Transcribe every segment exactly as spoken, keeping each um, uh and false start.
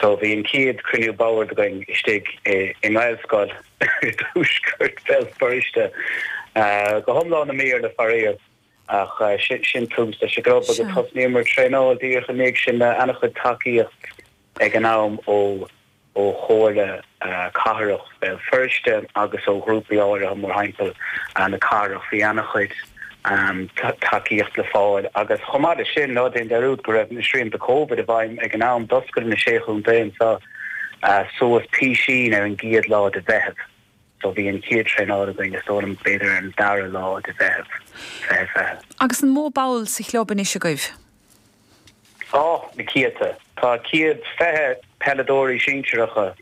So bhí an chéad cruinniú boird againn istigh i nGaelscoil i dtuaisceart Bhéal Feirste go hiomlán i mBéarla faraor ach sin tús leis an gclub agus thosnaíomar traenáil díreach i ndiaidh sin le an-chuid tacaíocht ag an am ó ó Chomhairle Cathrach Bhéal Feirste agus ó ghrúpaí áirithe mórthimpeall na cathrach bhí an-chuid tacaíocht le fáil agus chomh maith leis sin ná déan dearúd go raibh na srianta Covid i bhfeidhm ag an am d'oscail na Sé Chontae anseo suas písín ar an gcéad lá de Mheitheamh. So bhí an chéad traenáil againn is dóigh liom b'fhéidir ar an dara lá de Mheitheamh fiche fiche. Agus an mó ball sa chlub anois agaibh? Ó, na céadta. Tá céad fiche peileadóirí sinsearacha,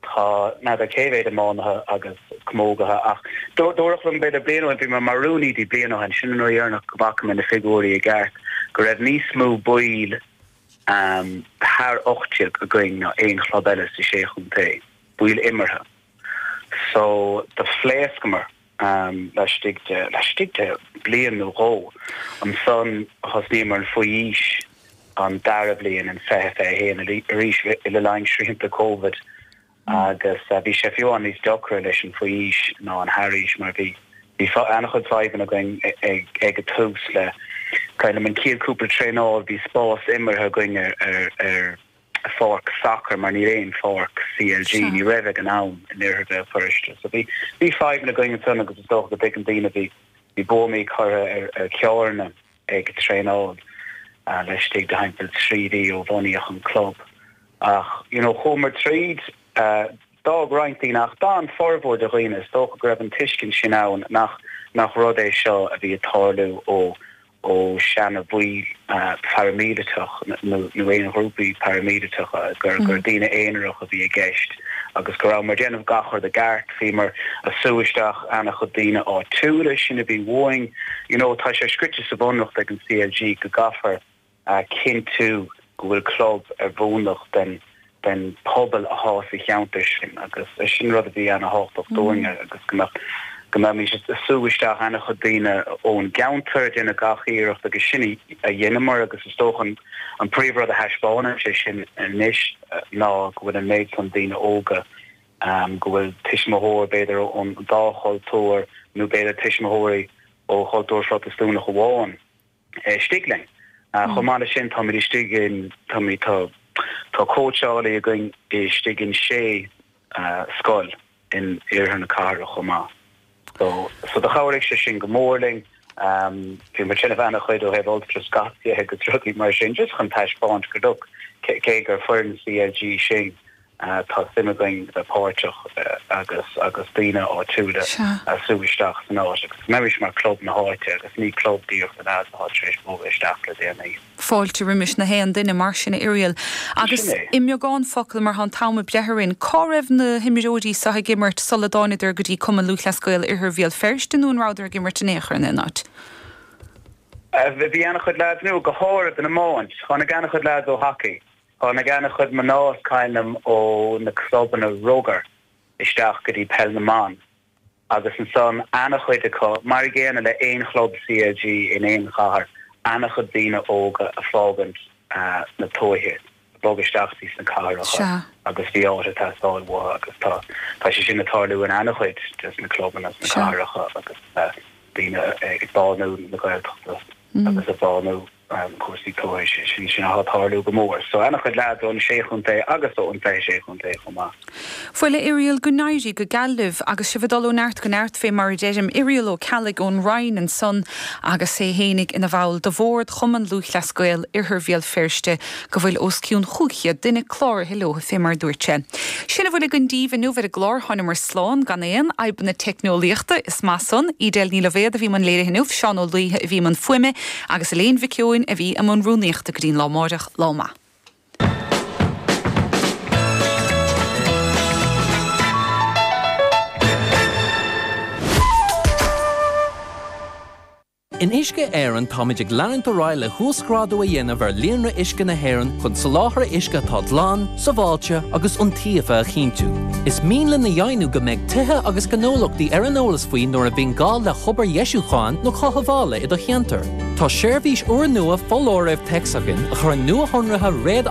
tá n'fheadar cé mhéad iománaithe agus camógaithe ach dúradh liom b'fhéidir bliain ó shin, bhí mé mar rúnaí di bliain ó shin, sin an uair dheireanach go bhfaca mé na figiúirí i gceart, go raibh níos mó baill thar ocht déag againn ná aon chlub eile sa Sé Chontae, baill imeartha. So do phléascamar laistigh de, laistigh de bliain nó dhó. Ansan thosnaíomar an faoi aois an dara bliain in fiche fiche a haon arís le linn srianta Covid agus bhí sé fiú amháin níos deacra leis an faoi aois ná an thar aois mar bhí bhí an-chuid fadhbanna againn ag ag an tús le cuimhin liom an chéad cúpla traenáil bhí spás imeartha againn ar ar ar pháirc sacair mar níl aon pháirc CLG, ní raibh ag an am in oirthear Bhéal Feirste. So bhí bhí fadhbanna againn ansan agus is dócha go dtuigeann daoine bhí bhí buamaí curtha ar ar charranna ag traenáil laistigh de thimpeall trí mhí ó bunaíodh an club. Ach you know chuamar tríd, d'fhág roinnt daoine ach d'fhan formhór de dhaoine, is dócha go raibh an tuiscint sin ann nach nach rud é seo a bhí ag tarlú ó ó seana-bhaill pharaimíleatach nó aon ghrúpaí paraimíleatacha, gur gur daoine aonarach a bhí i gceist agus go rabhamar ag déanamh gach rud i gceart. Bhíomar ag sú isteach ana-chuid daoine áitiúla, sin a bhí uainn. You know, tá sé scrite sa bhunreacht ag an CLG go gcaithfear cinntiú go bhfuil club ar bhunús den den pobal athá sa cheantar sin agus sin rud a bhí ana-thábhachtach dúinne agus go mbeadh go mbeimis ag sú isteach ana-chuid daoine ón gceantar ag déanamh gach iarracht agus sin a dheineamar agus is dócha an an príomhrud a thaispeánann sé sin anois ná go bhfuil an méid san daoine óga go bhfuil tuismitheoir b'fhéidir ón dá chultúr nó b'fhéidir tuismitheoirí ó chultúr Phrotastúnach amháin istigh linn. Chomh maith leis sin táimid istigh in, táimid, tá, tá cóitseálaí againn istigh in sé scoil in iarthar na cathrach chomh maith. So, so do chabhraigh sé sin go mór linn. Bhí muid ag déanamh ana-chuid ó thaobh ultrascot de agus rudaí mar sin just chun taispeáint go look, cé gur foireann CLG sinn, Tá suim againn bheith páirteach agus agus daoine áitiúla a sú isteach san áit agus go mbeimis mar club na háite agus ní club díreach do leaids atá tar éis bogadh isteach le déanaí. Fáilte roimis na haon duine mar sin, a Irial. Agus Sin é. i mbeagán focal, mar tá an t-am ag breith orainn, cá raibh na himreoirí seo ag imirt sula dtáinadar go dtí Cumann Lúthchleas Gael Oirthear Bhéal Feirste nó an rabhadar ag imirt in aon chor in aon áit? Bhí ana-chuid leaids nua, go háirid don iomáint. Tháinig ana-chuid leaids ó hacaí. Tháinig ana-chuid mná is cuimhin liom ó na clubanna rugair isteach go dtí Peil na mBan agus ansan ana-chuid acu, mar a gcéanna le aon chlub CLG in aon chathair, ana-chuid daoine óga a fágaint na tuaithe, ag bogadh isteach dtí sna cathracha agus bhí áit ag teastáil uathu agus tá tá sé sin ag tarlú in ana-chuid des na clubanna sna cathracha agus daoine ag bánú na Gaeltachta agus ag bánú cúrsaí tuaithe, sin sin atá ag tarlú go mór. So ana-chuid leaids ón Sé Chontae agus ón Fiche Sé Chontae chomh maith. Bhuel, a Irial, go n-éirí go geal libh agus sibh ag dul ó neart go neart fé mar a deirim. Irial Ó Ceallaigh ón Rinn ansan agus é fhéinig ina bhall de bhord Chumann Lúthchleas Gael Oirthear Bhéal Feirste go bhfuil os cionn chúig chéad duine cláraithe leo fé mar a dúirt sé. Sin a bhfuil againn daoibh inniu ar an gclár. Thánamar slán gan aon fhadhbanna teicneolaíochta. Is maith san. Edel Ní Loibhéad a bhí i mbun léirithe inniu, Seán Ó Laoithe a bhí i mbun fuaime agus Elaine Mhic Eoin a bhí i mbun rúnaíochta go dtí an lá amáireach. Lá maith. In Uisce Éireann táimid ag leanúint ar aghaidh le huasghrádú a dhéanamh ar líonra uisce na hÉireann chun soláthar uisce atá glan, sábháilte agus iontaofa a chinntiú. Is mian linn a dheimhniú go mbeidh tithe agus gnólachtaí ar an eolas faoi nuair a bhíonn gá le hobair dheisiúcháin nó chothabhála i do cheantar. Tá seirbhís úrnua foláirimh téacs againn a chuireann nuashonruithe réad